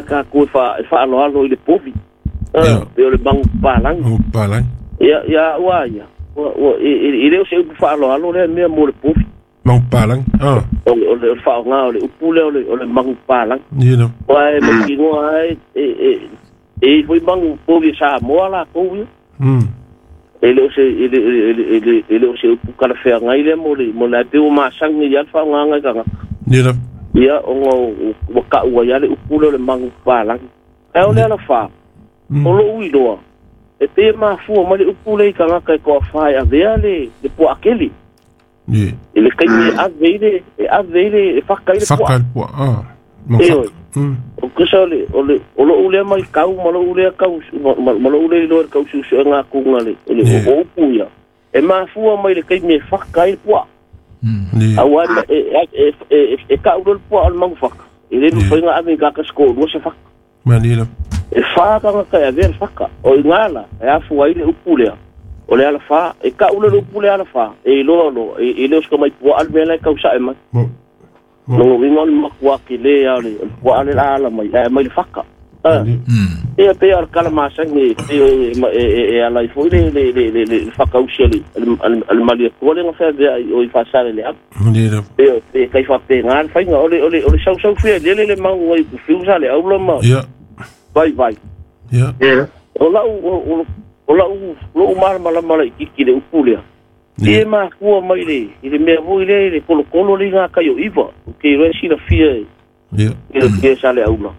tatou e faaaloalo i le povi. Pe o le manupapalagi. Manupapalagi. Ia, ia ua ia. Ua e le o se upu faaaloalo lea mea mo le povi. Manupapalagi. O le faaaoga o le upu lea o le manupapalagi. Ia. Ua e mautinoa ai e foi manu povi Samoa latou ia. E le o se e le o se upu talafeagai lea mo le pe ua masani ia le faaaogaga i tagata. Ia. Ia ona ua taua ai le upu lea o le manupapalagi. Ae o le alafā o lou iloa e pei e mafua mai le upu lea i tagata e toafā e avea le puaakele. Ia. I le taimi e ave i le e faka i le puaa. Faka i le puaa. E o kusa o lou lea mai kau ma lou lea kau ma lou lea iloa i le tausuesuega atuga le o upu ia e mafua mai le taimi e faka ai le puaa. Auā e tau loa le puaa o le manufaka e le mafai ona ave i tagata se toalua se faka. E fa tagata e avea le faka o i gala e afua ai le upu lea o le alafā e tau loa le upu lea alafā e iloa loa e le o se tamai puaa le mea la e tausae mai. Logo uiga o le matua tele a o le puaa le ala mai ae mai le faka. Ia pe o le kalamasagi e ala ai foi le fakausi a le Malietoa lea na feaveai o i Faasaleleaga. Pe kai faapena le faiga o le sausau fia lele le magu ai kufiu sa le aula ma vaivai. O lau malamalama laitiiti i le upu lea. E mafua mai i le mea foi lea i le kolokolo le i ngā kai o iwa. O ke iloa e silafia e sa le aula.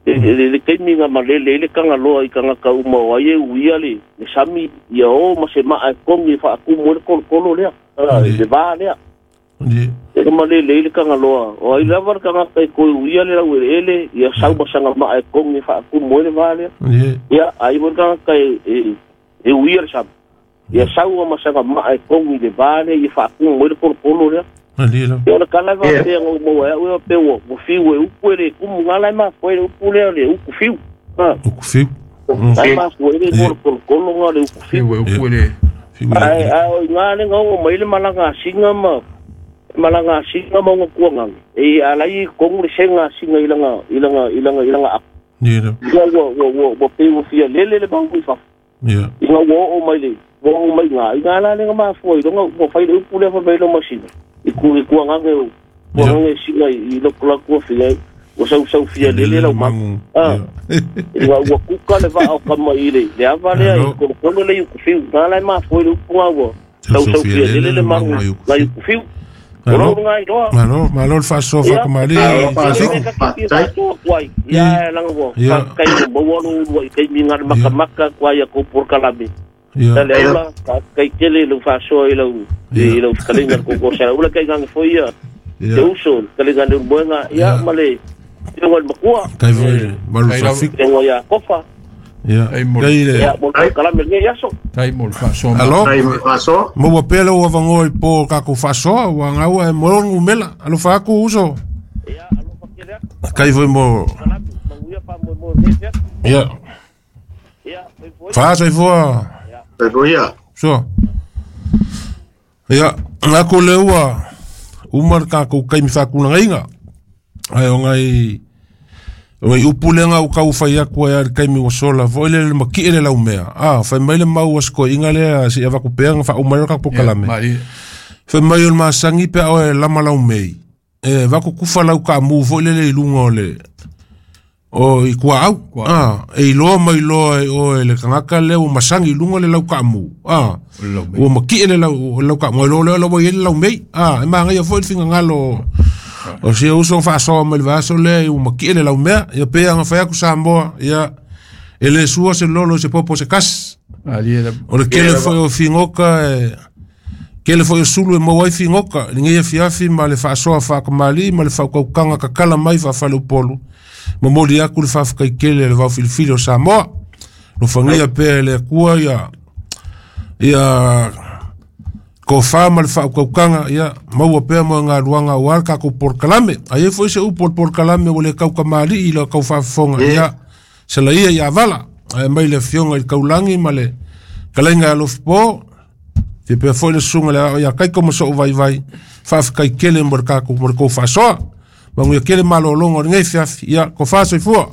Le taimi nga malele i le kangaloa i tagata uma o ai e uia le sami ia o ma se maa e kogi e faatumu ai le kolokolo lea, le vā lea. E malele i le kangaloa. O ai lava le tagata e toe uia le laueleele ia sau ma sana maa e kogi e faatumu ai le vā lea. Ia ai foi le tagata e uia le sami. Ia sau ma sana maa e kogi le vā lea ia faatumu ai le kolokolo lea. Ia o le kala e faapea na umaua ai au ia pe ua fiu e upu e le kumu ngā lai mafua i le upu lea o le uku fiu. Uku fiu. Lai mafua i le kolokolo ngā le uku fiu. Fiu e upu e le. Ae o i ngā le ngā mai le malaga singa ma malaga singa ma unga kuanganga. E alai i kongu le senga singa i langa aku. Ia. Ua pe ua fia lele le mau i fafu. Ia. I ngā ua oo mai le ua oo mai ngā. I ngā la le ngā mafua i longa ua fai le upu lea fa mai lo masina. I kuanganga singa i loko la kua fia ua sausau fia lele lau magu. I ngā ua kuka le vaa o kama i le ava lea i kolokolo le i ukufiu. Ngā lai mafua i le upu ngā ua sausau fia lele le magu ngai ukufiu. Malo, malo le faasoa faakamali. Ia langa ua kai maua lo ua i taimi ngā makamaka kua ia kou kalame. Ia. Le aula kai tele le faasoa i lau fekalinga le koko sa ula kai nganga foi ia te uso kalinga le moenga ia ma le tengo le makua. Kai foi malu faafik. Tengo ia kofa. Ia. Kai le. Ia mo kalame le iaso. Tai mo le faasoa. Alo. Tai mo le faasoa. Mo ua pea lau avangoa i po kako faasoa ua ngaua e mo ngumela. Alofa aku uso. Ia alofa kele aku. Kai foi mo. Ia. Ia. Faa soifua. Soifua ia. So. Ia, ngā le ua uma le kākou kaimi whākunangaiga. Ai o ngai upu lenga o kau whai aku ai le kaimi wa sola. Fo ile le maki ele lau mea. Whai mai le mau asko inga lea si ava kupea nga wha umai o kapo kalame. Whai mai o le masangi pea o e lama lau mei. E vaku kufa lau ka mu fo ile le ilunga o le o i kua au. E iloa mai loa e o e le kangaka lea o masangi ilunga le lau ka mu. Ua maki ele lau ka mu. Ilo lea lau ele lau mei. E maangai fo ile finga ngalo o se uso faasoa mai le vaaso lea i ua maki ele lau mea. Ia pea nga whai aku Samoa. Ia ele sua se lolo se popo se kas. O le kele foi o fingoka e kele foi o sulu e maua ai fingoka. Linga ia fiafi ma le faasoa faakamali ma le whaukaukanga kakala mai whaafale upolu. Mamoli aku le whawhakai kele le vau filifili o Samoa. Lo whangia pea le akua ia ia ko wha ma le whaukaukanga ia maua pea mo ngā luanga o al kako por kalame. Ai e foi se upo por kalame o le kaukamali i le kau whaafonga ia se la ia ia vala. Ai mai le fionga i kaulangi ma le kalainga alofipo. Te pea foi le sunga le ia kai komo so vai vai whawhakai kele mo le kako mo le kau whaasoa. Mangu ia kele malolongo o ngai fiafi ia ko whaasoifua.